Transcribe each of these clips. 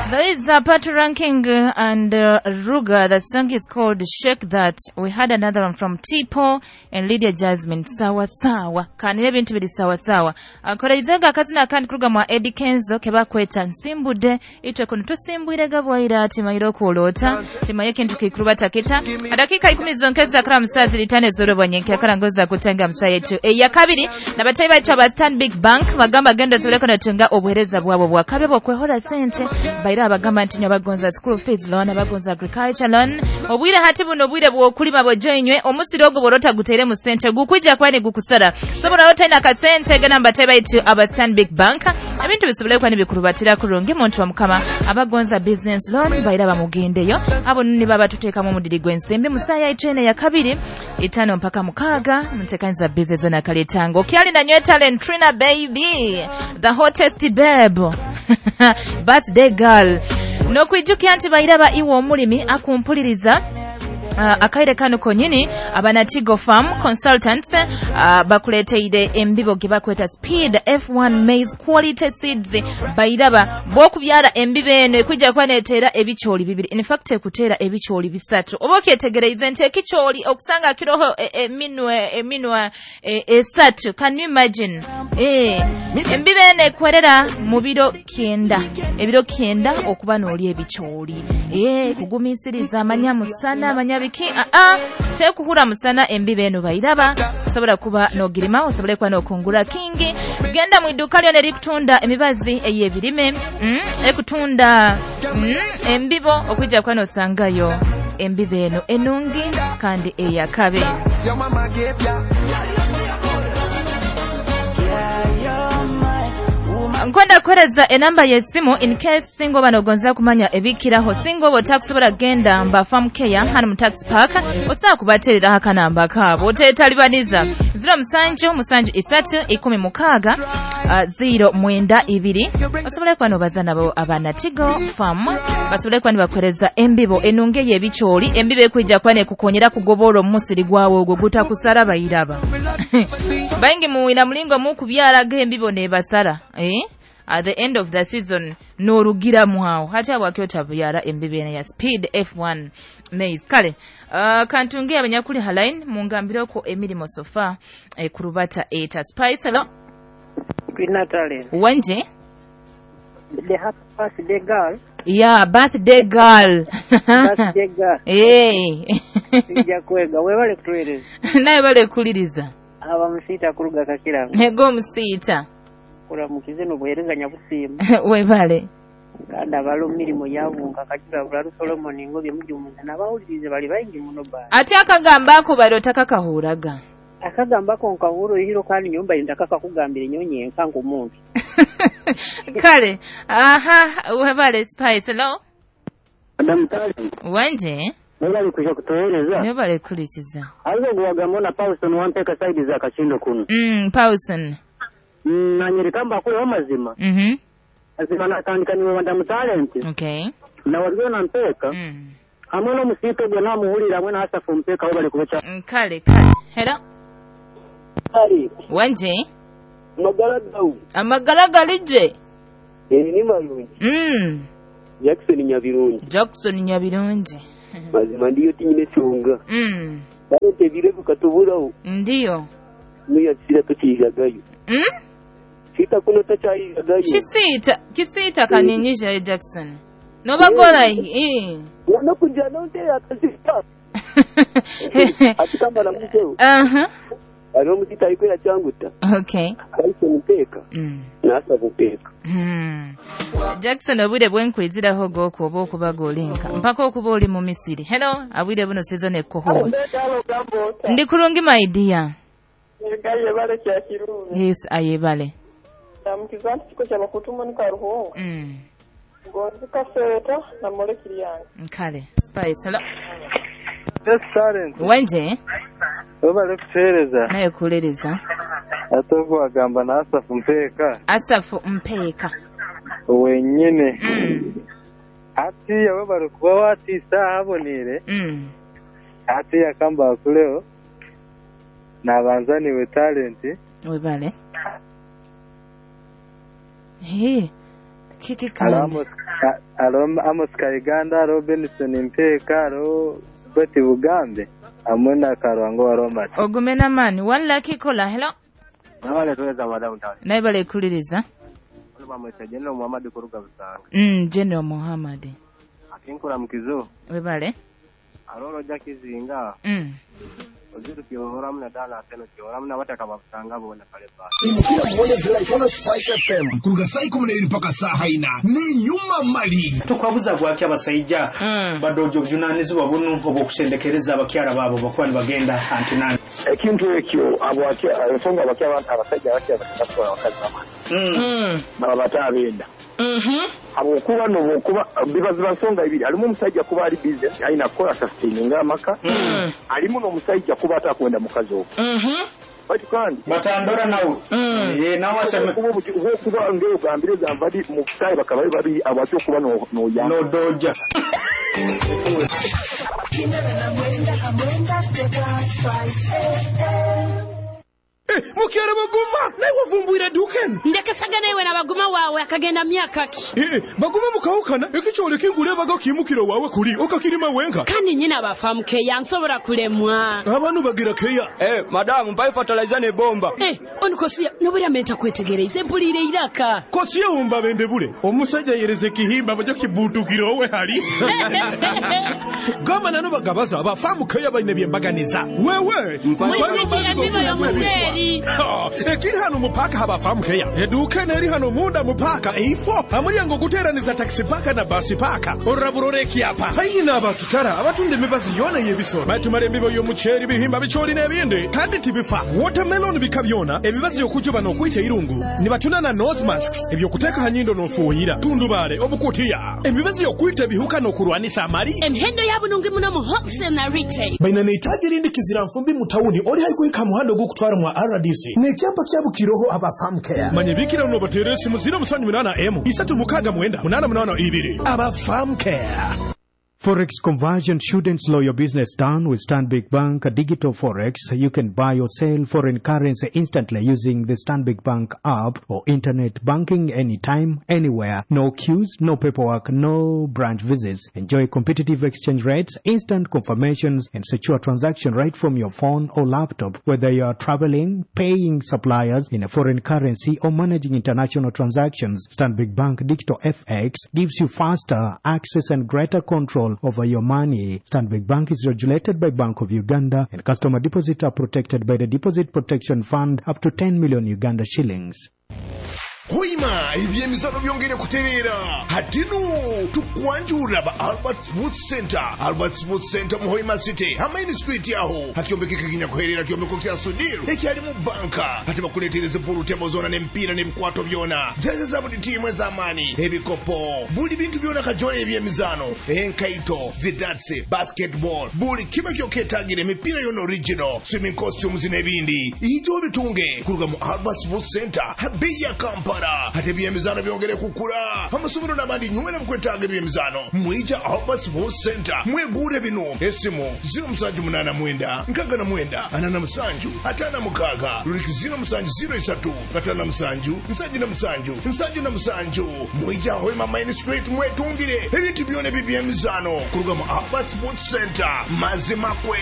There is a Pat Ranking and Ruga. The song is called Shake That. We had another one from Tipo and Lydia Jasmine. Sawa sawa. Kanire ebintu biri sawa sawa. Akoreizaga akazina akandi kuruga mwa Eddie Kenzo kebakweta nsimbude itwe kuno tusimbwire gabwaira timayire okulota timaye kintu kikuruba takita dakika 10 zonkeza kala musazi litane zoro bwanyenke akala ngoza kutenga musaye yetu eya kabiri nabatayi baitu aba Stanbic Bank bagamba genda zoleko natunga obuhereza bwabo bwakabe bwokwehora sente baira abagamba nti nyo bagonza school fees loan, abagonza agriculture loan, obwire hati buno obwire bwokulima bojoinywe omusiri ogwo borota gutere mu sente gukwija kwani gukusara sobola otaina kasente gana mbatayi baitu aba Stanbic Bank ebintu bisobole kwani bikurubatira kurungi muntu wa mukama abagonza business loan baira bamugendeyo abo nini baba tuteekamu omudiri gw'ensimbi musaya itwene ya kabiri 5 mpaka 6 mutekanza business zona kaletango kyali na nywe talent Trina baby the hottest babe birthday girl nokwijukia nti bairaba iwe omulimi akumpuliriza akaire kano konyini abanatigo farm consultants bakuleteire embibo gibakweta speed F1 maize quality seeds bairaba bokubyara embibo eno ekwijja kwanetera ebikyoli bibiri, in fact ekutera ebikyoli bisatu oba okyetegereize nti ekikyoli okusanga kiroho eminwe esatu, can you imagine? Embibo eno ekwerera mu biro 9, ebiro 9 okuba n'oli ebikyoli kugumisiriza amanya musana amanya biki tekuhura musana embibe eno bairaba sobola kuba nogirima osobole kuba nokungura kingi. Genda mu iduka lyona erikutunda emibazi ey'ebirime ekutunda embibo okwijja kuba nosangayo embibe eno enungi kandi eyakabe. Nkwenda kuhereza enamba y'esimu in case singo banogonza kumanya ebikiraho singo botakusobola genda mba farm care hano mu tax park osobola kubaterera akanamba kaabo otetalibaniza 07 7 3 16 092 osobole kuba nobaza nabo abanatigo farm basobole kuba nibakuhereza embibo enunge y'ebikyoli embibo ekwijja kuba nekukonyera kugobola omusiri gwawe ogwo gutakusara bayiraba baingi muwina mulingo mukubyaraga embibo nebasara at the end of the season norugira mwawo hata wakyota buyara embibe ya speed F1 maize kale kantunge abanyakuli halain mungambire ko emirimo sofa kurubata eta spice. Hello Natalie. Wanje the happy birthday girl. Yeah, birthday girl. Birthday girl. Hey. Sijja kwega webale kutuweereza. Naye bale kuliriza. Aba musiita kuruga kakiranga. Ego musiita. Kulamukize n'obuweereza nyabusiima. Webale. Kandi abalo mirimu yabunga kakira bulalu Solomon ngobye mujumuza n'abawulirize bali baingi muno ba. Ate akagamba ako bali otakakahuraga. Akagamba ko nkahuro hiro kandi nyumba ndakaka kugambira nyonye nkango omuntu. Kale, aha, webale Spice. Hello. Madam Talent. Wanje? Webale kuja kutueleza. Webale kulichiza. Alizo guwagamona Paulson wampeka side za Kashindo kuno. Paulson. Nanyerikamba kule amazima. Azima natandika niwe Madam Talent. Okay. Na waliona mpeka. Hamwe n'omusito gwe namuhulira hamwe na Asafu mpeka webale kubacha. Kale, kale. Hello. Ali. Wanje? Amagala gawu. Amagala galije. Ni malungi. Jackson Nyabirungi. Jackson Nyabirungi. Mazima ndiyo tinyine chunga. Talente birevu katuburaho. Ndiyo. Niyo sira tukijagayo. Sita kuno tachayijagayo. Kisita kaninyisha Jackson. Nobagola hii. Wana kujana nte akazita. Atikamba na mkeo. Ano mutita ikwera changuta. Okay. Aise mpeka. Nasa kupeka. Jackson obwire bwenkwiziraho goko oba okubaga olinka mpaka okuba oli mu Misiri. Hello, abwire buno season ekoho. Ndi kulungi my dear. Ayebale kya kirungi. Yes, ayebale. Namukizanti kiko kyabakutuma ni karuhunga. Gonzi kaseta na molekili yange. Kale, Spice. Hello. Yes, Talent. Wanje? Webale kutuhereza. Naye kulereza. Ate okuwagamba na Asafu Mpeka. Asafu Mpeka. Wenyine. Ati webale kuba watiisa ahabonire. Ati yakamba akuleo. Nabanza niwe Talent. Webale. Hey. Kiki kandi. Hariho Amos Kaiganda, hariho Benson Mpeeka, hariho Betty Bugambe hamwe na Karwango wa Robert. Ogume n'amaani. One lucky caller. Hello. Mwabale tuweza madamu tawani. Naye balekuliriza. Bamweta General Muhammad kuruga Busanga. General Muhammad. Akinkura mukizo. Webale. Aroro jakizinga. Oziru kiohora mna dala ateno kiohora mna wataka babusanga bona pale pale. Imukira muone July Spice FM. Kuruga saa 12 mpaka saa 4 ni nyuma mali. Tukwabuza gwaki abasajja badojo bujunanizibwa bunu obwokusendekereza abakyala baabo bakuba nibagenda antinani. Ekintu ekyo abo ensonga abakyala abasajja abakyala batwala abakazi bamani. Baba batabenda. Habwokuba n'obwokuba bibaziba nsonga ibiri alimu omusajja kuba ali business alina kukola sustaining amaka alimu n'omusajja kuba atakwenda mukazi ogwo. Bati kandi batandora nawe nawe aseme kuba ngeo gambire gambadi mu kutayi bakaba babiri abakyo kuba no ya no doja. Mukere baguma naye wavumbwira duken ndekasaga naye na baguma wawe akagenda myaka ki baguma mukawukana ekikyole kingule baga kimukiro wawe kuli okakirima wenka kandi nyina bafamu keya nsobora kulemwa abantu bagira keya madamu mpa fertilizer ne bomba onikosia nobura menta kwetegereza empulire iraka kosiye umba bende bule omusajja yereze kihimba bajo kibutukiro we hali gama nano bagabaza abafamu keya bayine byembaganiza wewe ekiri hano mupaka habafamu keya eduka neri hano munda mupaka eifo amulyango guteraniza taxi paka na basi paka oraburore kyapa hayina abakitara abatunda emibazi yona y'ebisoro batumara emibo y'omuceeri bihimba bicholi n'ebindi kandi tibifa watermelon bika byona emibazi y'okujuba n'okwita irungu nibatuna na nose masks ebyokuteeka hanyindo n'ofuuyira tundubale obukutiya emibazi y'okwita ebihuka n'okurwanisa amali emihendo yabunungi muno mu wholesale na retail baina neitaji rindi kizira nfumbi mu tawuni oli haikuhika muhando gukutwara mwa RDC nekyapa kyabukiroho abafamu care manye bikira no batere simu 078 M 369 882 abafamu care. Forex conversion shouldn't slow your business down. With Stanbic Bank Digital Forex, you can buy or sell foreign currency instantly using the Stanbic Bank app or internet banking anytime, anywhere. No queues, no paperwork, no branch visits. Enjoy competitive exchange rates, instant confirmations, and secure transaction right from your phone or laptop. Whether you are traveling, paying suppliers in a foreign currency, or managing international transactions, Stanbic Bank Digital FX gives you faster access and greater control over your money. Stanbic Bank is regulated by Bank of Uganda, and customer deposits are protected by the Deposit Protection Fund up to 10 million Uganda shillings. Hoima ebyemizano byongere kuterera hatinu tukwanjura ba Albert Sports Center. Albert Sports Center mu Hoima City Hamaini Street yaho hakiombekeka kinyakuherera kiombeko kya Sudiru ekyali mu banka hati bakuletereza pulu tebo zona n'emipiira n'ebikwato byona jeze za buli tiimu ez'amaani ebikopo buli bintu byona kajole ebyemizano enkaito zidatsi basketball buli kiba kyoketagire emipiira yona original swimming costumes n'ebindi ijo bitunge kuruga mu Albert Sports Center habeya ya Kampala ate ebyemizano byongere kukula amasomero n'abandi nywera mukwetaaga ebyemizano mwija Albert Sports Center mwegure bino esimu 0789 69 47 56 ruliki 0703 57 77 77 mwija Hoima Main Street mwetungire ebintu byona ebyemizano kuruga mu Albert Sports Center mazimakwe.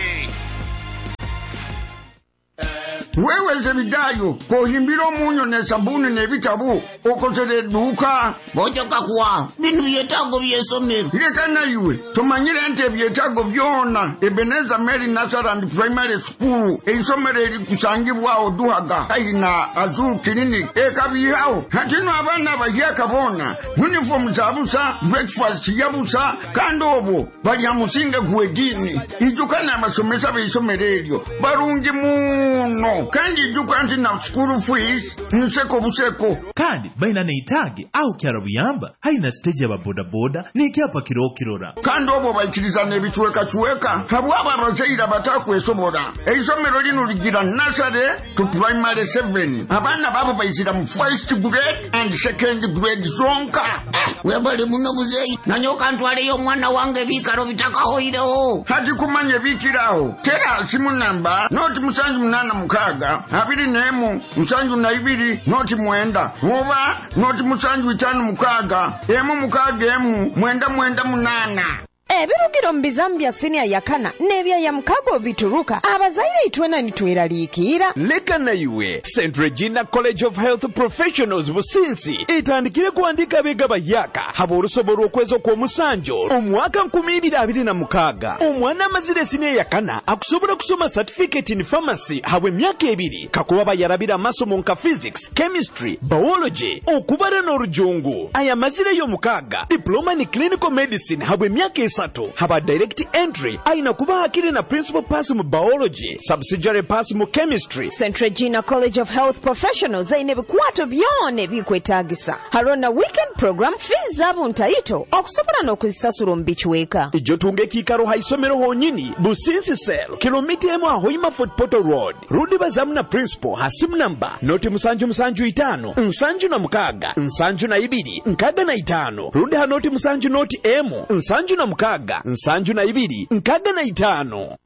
Wewe Zebidayo, kohimbira omunyo ne sabuni n'ebitabo okozere edduuka. Bojoka kuwa bino byetaago by'essomero. Leka nayiwe tumanyire nti ebyetaago byonna Ebenezer Mary Nursery and Primary School eisomero erikusangibwawo Duhaga haihi na Azul Clinic ekabihawo. Hatino abaana abahyaka boona uniform za busa, breakfast ya busa, kandi obwo balya musinge gw'eddiini. Ijuka n'abasomesa b'eisomero eryo barungi muno. Kandi ijuka nti na school fees nseko buseko. Kandi baina neitage au kyara buyamba haina stage ya bodaboda n'ikyapa kirokirora. Kandi obwo baikiriza n'ebicuwekacuweka habwabo abazaire abatakwesobora. Eisomero lino ligira nursery to primary 7. Abaana babo baizira mu first grade and second grade zonka. Webale muno muzeeyi nanyoka ntwaleyo omwana wange ebiikaro bitakahoireho. Hati kumanya ebiikiraho tera simu namba noti 786 mukaaga 21 72 09 oba 0756 161 998. Ebirugiro mu bizamu bya siniya yakana n'ebyaya mukago bituruka abazaire itwena nitweraliikirira. Leka naiwe St Regina College of Health Professionals Businsi etandikire kuandika abega bayaka haba olusobo lw'okwezi okw'omusanjo omwaka 2026. Omwana amazire siniya yakana akusobola kusoma certificate in pharmacy habwe emyaka 2 kakuba bayarabira amasomo nka physics, chemistry, biology, okubara n'orujungu. Aya mazire y'omukaaga diploma ni clinical medicine habwe emyaka 3 haba direct entry aina kuba hakiri na principal pass mu biology, subsidiary pass mu chemistry. St Regina College of Health Professionals aine ebikwato byona ebikwetagisa. Harona weekend program fees zabo ntaito okusobola n'okuzisasula omu bicweka. Ijo tunga ekiikaro ha isomero honyini Businsi Cell kilomita 1 Hoima Fort Portal Road. Rudi bazamu na principal ha simu namba 075 76 72 65 rundi ha 070 M 76 72 65.